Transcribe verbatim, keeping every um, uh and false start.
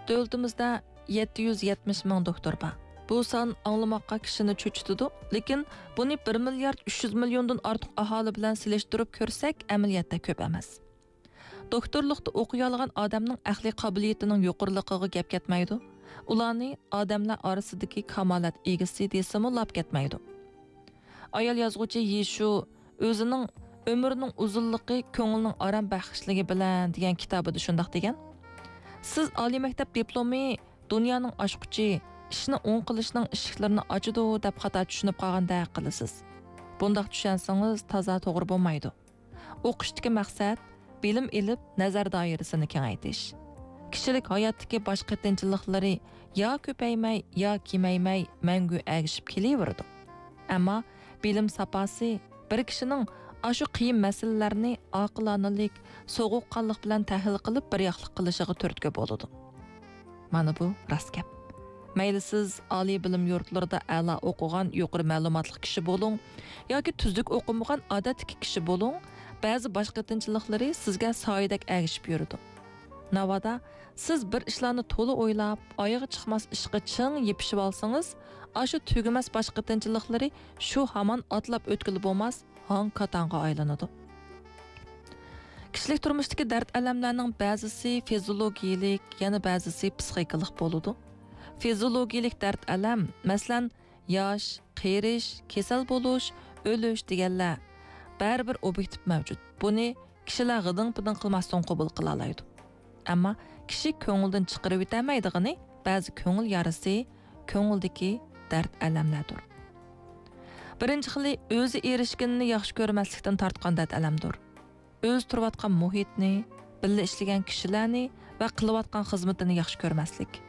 دۆلىتىمىزدە يەتتە يۈز يەتمىش مىڭ دوختۇر بار. بۇ سان ئاڭلىماققا كىشىنى چۆچۈتىدۇ، لېكىن بۇنى بىر مىليارد ئۈچ يۈز مىليوندىن ئارتۇق ئاھالى بىلەن سېلىشتۇرۇپ كۆرسەك، ئەمەلىيەتتە كۆپ ئەمەس. دوختۇرلۇقتا ئوقۇيالىغان ئادەمنىڭ ئەقلىي قابىلىيىتىنىڭ يۇقىرىلىقىغا گەپ كەتمەيدۇ. ئۇلارنى ئادەملەر ئارىسىدىكى كامالەت ئىگىسى دېسىمۇ لاپ كەتمەيدۇ. ئايال يازغۇچى يىشۇ ئۆزىنىڭ «ئۆمۈرنىڭ ئۇزۇنلۇقى كۆڭۈلنىڭ ئارام بەخشلىكى بىلەن» دېگەن كىتابىدا شۇنداق دېگەن: «سىز ئالىي مەكتەپ دىپلومى دۇنيانىڭ ئاچقۇچى، ئىشنى ئوڭ قىلىشنىڭ ئىشىكلىرىنى ئاچىدۇ دەپ خاتا چۈشىنىپ قالغاندەك قىلىسىز. بۇنداق چۈشەنسىڭىز تازا توغرا بولمايدۇ. ئوقۇشتىكى مەقسەت، بىلىم ئېلىپ، نەزەر دائىرىسىنى كېڭەيتىش. كىشىلىك ھاياتتىكى باش قېتىنچىلىقلىرى يا كۆپەيمەي، يا كېمەيمەي، مەڭگۈ ئەگىشىپ كېلىۋېرىدۇ. ئەمما بىلىم ساپاسى بىر كىشىنىڭ ئاشۇ قىيىن مەسىلىلەرنى ئاقىلانىلىك، سوغۇققانلىق بىلەن تەھلىل قىلىپ، بىر ياقلىق قىلىشىغا تۈرتكە بولىدۇ.» مانا بۇ راست گەپ. مەيلى سىز ئالىي بىلىم يۇرتلىرىدا ئەلا ئوقۇغان يۇقىرى مەلۇماتلىق كىشى بولۇڭ ياكى تۈزۈك ئوقۇمىغان ئادەتتىكى كىشى بولۇڭ، بەزى باش قېتىنچىلىقلىرى سىزگە سايىدەك ئەگىشىپ يۈرىدۇ. ناۋادا سىز بىر ئىشلارنى تولا ئويلاپ، ئايىغى چىقماس ئىشقا چىڭ يېپىشىۋالسىڭىز، ئاشۇ تۈگىمەس باش قېتىنچىلىقلىرى شۇ ھامان ئاتلاپ ئۆتكىلى بولماس ھاڭ-كاتاڭغا ئايلىنىدۇ. كىشىلىك تۇرمۇشتىكى دەرد-ئەلەملەرنىڭ بەزىسى فىزىولوگىيىلىك، يەنە بەزىسى پسىخىكىلىق بولىدۇ. فىزىولوگىيىلىك دەرد-ئەلەم، مەسىلەن، ياش، قېرىش، كېسەل بولۇش، ئۆلۈش دېگەنلەر بەرىبىر ئوبيېكتىپ مەۋجۇت. بۇنى كىشىلەر غىدىڭ-پىدىڭ قىلماستىن قوبۇل قىلالايدۇ. ئەمما كىشى كۆڭلىدىن چىقىرىۋېتەلمەيدىغىنى بەزى كۆڭۈل يارىسى، كۆڭۈلدىكى دەرد-ئەلەملەردۇر. بىرىنچى خىلى ئۆزى ئېرىشكىنىنى ياخشى كۆرمەسلىكتىن تارتقان دەرد-ئەلەمدۇر. ئۆزى تۇرۇۋاتقان مۇھىتنى، بىللە ئىشلىگەن كىشىلەرنى ۋە قىلىۋاتقان خىزمىتىنى ياخشى كۆرمەسلىك.